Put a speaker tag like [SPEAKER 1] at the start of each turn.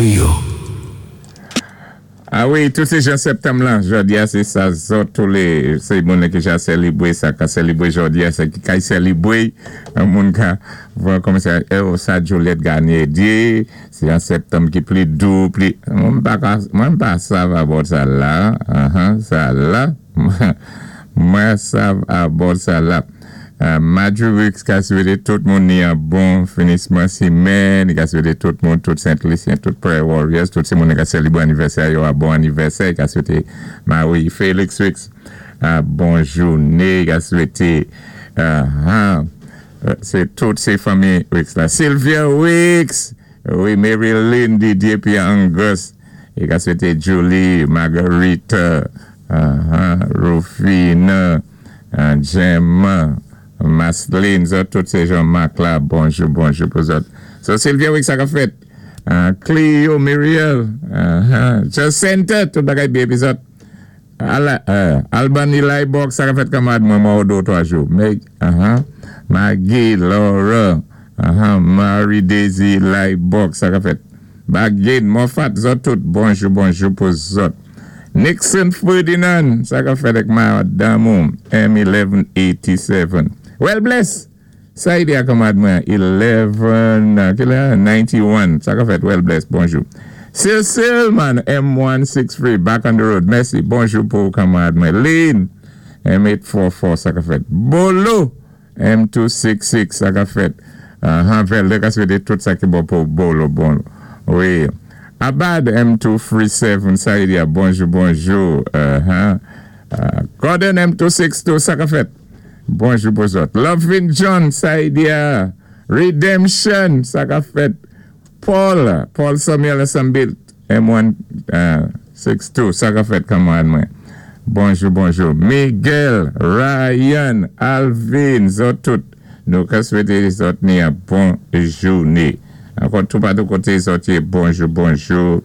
[SPEAKER 1] To you.
[SPEAKER 2] A wi, tout sé jan septanm lan, jòdi-a sé sa zòt tou lé sé moun ki ja sélibwé sa ka sélibwé jòdi-a sa ki kay sélibwé moun ka vwa kòmansé oh sa Juliette Garnier di sé an septanm ki pli dou pli mwen pa ka mwen pa sav about sa la sa la mwen sav about sa la. Marjorie Weeks ka swété tout moun ni an bon finisman simèn, li ka swété tout moun, tout Sent Lisyen, tout Prayer Warriors, tout ti moun ki ka sélibwé anivèsè yo a bon anivèsè, li ka swété Marie Felix Weeks a bon jouné, li ka swété sé tout sé fanmi Weeks la, Sylvia Weeks, wi Maryline Didier Pierre Angus, li ka swété Julie Marguerite, Rufine. Gemma, Maslin, zòt tout sé Jean Marc la, bonjou bonjou pou zòt. So Sylvia Weeks sa ka fèt? Cleo, Muriel, Jacinta, tout bagay byen épi zòt. Albany Lybox sa ka fèt kanmarad mwen mwen wè w 2 ou 3 jou. Meg, Maggie, Laura, Marie Daisy Lybox sa ka fèt? Bagin, Moffat, zòt tout, bonjou bonjou pou zòt. Nixon Ferdinand, sa ka fèt ak madanm ou, M1187. Well bless! Sa yi di a kanmarad mwen, 11, ki lè? 91, sa ka fèt, well bless, bonjou. Cecil man, M163, back on the road, mèsi, bonjou pou kanmarad mwen. Lynn, M844, sa ka fèt. Bolo! M266 sa ka fèt han vèlè ka swete tout sa ki bon pou bolo bon wi Abad M237 sa li di a bonjou bonjou han Gordon M262 sa ka fèt bonjou pou zòt Lovin John sa li di a Redemption sa ka fèt Paul Paul Samuel Ensemble M1 6 2 sa ka fèt kanmarad mwen bonjou bonjou Miguel Ryan Alvin zòt tout nou ka swete zòt ni an bon joune ankò toupatou kote zòt ye bonjou bonjou.